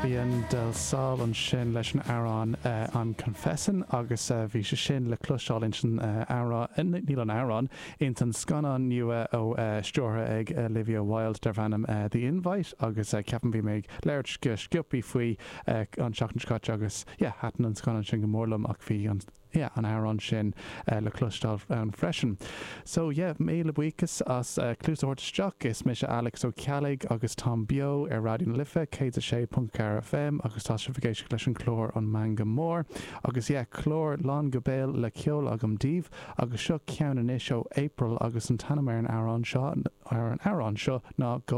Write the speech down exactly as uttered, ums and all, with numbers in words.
Fabian del Sol ansin leis an amhrán uh, I'm Confessin agus uh, bhí sé sin le cloisteáil insan uh, amhrán níl an amhrán in san scannán nua ó uh, stiúrtha ag Olivia Wilde darb ainm uh, The Invite agus uh, ceapaim bhí mé ag labhairt go sciobtha faoi uh, an seachtain seo caite agus yeah, thaitin an scannán sin go mór liom ach bhí an yeah, an amhrán sin uh, le cloisteáil ann freisin. So yeah, míle buíochas as uh, cluas a thabhairt isteach is mise Alex Ó Ceallaigh agus táim beo ar Raidió na Life céad a sé ponc ceathair FM agus tá sibh ag éisteacht leis an chlár an Meangadh Mór agus yeah, clár lán go béal le ceol agam daoibh agus seo ceann anois ó April agus an t-ainm ar an amhrán seo ar an amhrán seo ná